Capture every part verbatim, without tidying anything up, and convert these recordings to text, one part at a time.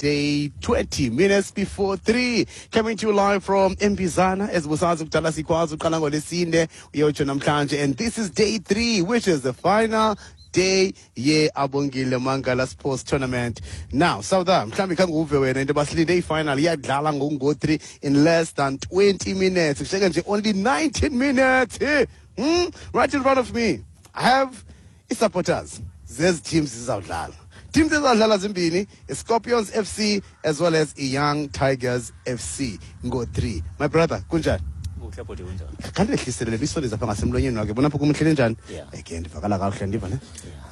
Saturday, twenty minutes before three. Coming to you live from Mbizana, as busazi kudala sikwazi uqala ngolesine uyotsho namhlanje, and this is day three, which is the final day ye Abongile Mangala Sports Tournament. Now, Sauda, mhlawumbi khange uve wena into basilinde i-final iyadlala ngoku three in less than twenty minutes. Kushiyeke nje only nineteen minutes. Eh? Hmm? Right in front of me, I have i-supporters zezi teams zizawudlala. Teams ezizawudlala zimbini, i-Scorpions F C as well as i-Young Tigers F C ngo three. My brother, kunjani? Kuhle bhuti, kunjani? Khandehlisele le isondeza apha ngasemlonyeni wakhe, bona apho kumhlele njani. Yeah. Eke ndivakala kakuhle, ndiva ne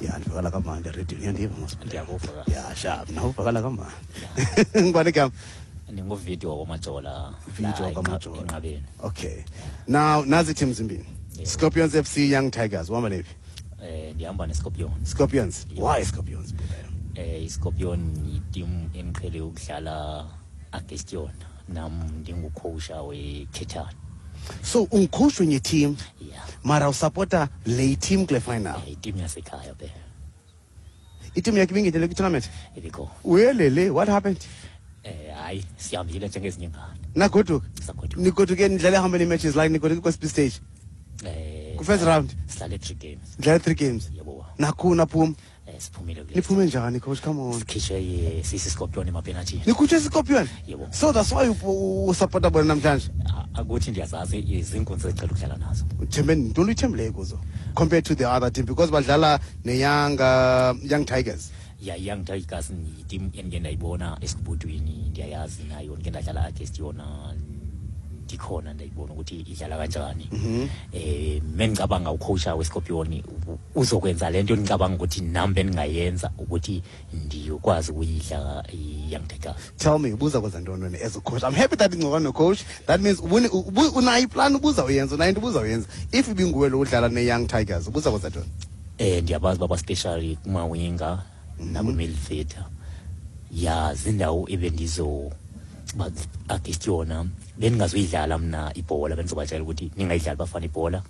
ya, ndivakala kamandi erediyweni, uyandiva mos? Ndiyakuva kahle. Ya, sharp, nawe uvakala kamandi. Ngubani igama? Ndinguvidiyo wakwaMajola. Video la wakwaMajola. Enqabeni. Okay, now nazi teams zimbini, Yeah. Scorpions F C, Young Tigers. Uhamba nephi? Eh ndihamba neScorpions. Scorpions. Yeah. Why Scorpions? Eh iScorpion yiteam endiqhele ukudlala against yona. Nam ndingucoach weKhethane. So ungucoach wenye team, Yeah. mara usupporta le team kule final? Eh iteam yasekhaya be. Iteam yakhe ibingenele kwi-tournament? Ibikho. Uyelele, what happened? Eh hayi, sihambile njengezinye ingane. Nagoduka? Sagoduka. Nigoduke nidlale how many matches, like nigoduke kwesiphi stage? Eh Ku-first round? Sidlale three games. Nidlale three games? Yebo. Nakhu naphuma? Eh siphumile kule. Niphume njani, coach? Come on. Sikhishwe sisi Scorpion emapenalty. Nikhutshwe Scorpion? Yebo. So that's why usupporta bona namhlanje? Akuthi ndiyazazi izinkunzi ezicela ukudlala nazo. Uthembe ntoni, uyithembileyo kuzo compared to the other team, because badlala ne-young uh, young Tigers? Ya, Young Tigers yiteam endike ndayibona esikubudwini, ndiyayazi nayo, ndike ndadlala against yona ndikhona, ndayibona ukuthi idlala kanjani. eh mengicabanga ucoach weScorpion uzokwenza lento ngicabanga ukuthi nami bengingayenza ukuthi ndiyokwazi ukuyidla i-Young Tigers. Tell me, ubuza kwenza ntoni wena as a coach? I'm happy that ingcoka no-coach. That means ubune- ubu- unayo iplan, ubuza uyenza, unayo into ubuza uyenza. If ibinguwe lo udlala ne-Young Tigers, ubuza kwenza ntoni? eh ndiyabazi baba, specially kumawinga nakwi-midfielder, ya, zindawo ebendizo ba against yona bendingazoyidlala mna ibhola, bendizobatshela ukuthi ningayidlali bafana ibhola,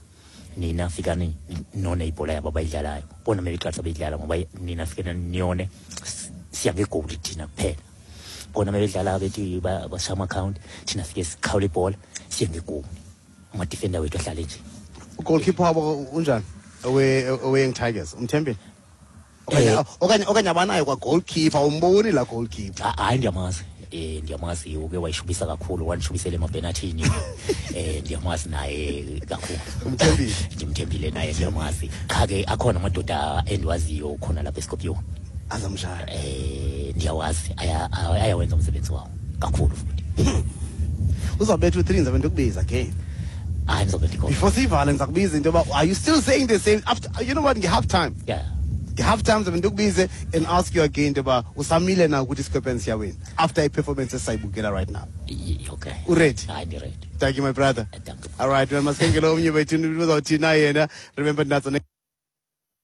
nina fikani none ibhola yabo abayidlalayo bona mebeqalisa beyidlala, ngoba nina fikani niyone, siya ngegoli thina kuphela. Bona mebedlala bethi ba- bashaya ama-count, thina fike sikhawule ibhola, siye ngegoli, ama-defender wethu ahlale nje. Ugoalkeeper wabo unjani, owe-Young Tigers? Umthembile okanye Eh. okanye okanye abanayo kwa-goalkeeper? Umboni la goalkeeper? Ha- hayi, ndiyamazi, eh ndiyamazi, uke wayishubisa kakhulu, wandishubisela emapenalthini. eh ndiyamazi naye kakhulu. Umthembile? Ndimthembile naye, ndiyamazi. Qha ke akhona amadoda endiwaziyo khona lapha eScorpion. Azamshaya? eh ndiyawazi, aya- ayawenza umsebenzi wawo kakhulu futhi. Uzawubetha u-three, ndizabe ndikubiza again. Hayi, ndizobe ndikhona. Before siyivale, ndiza kubiza into yoba are you still saying the same after, you know what, nge-half time? Yeah. Nge-half time ndizabe ndikubize and ask you again into yoba usamile na ukuthi iScorpions siyawina after i-performance esisayibukela right now. Y- okay Uready? Hayi, ndiready. Thank you, my brother. Thank you. All right, wena, masikengele omnye wethu uzawuthina yena. Remember, natso.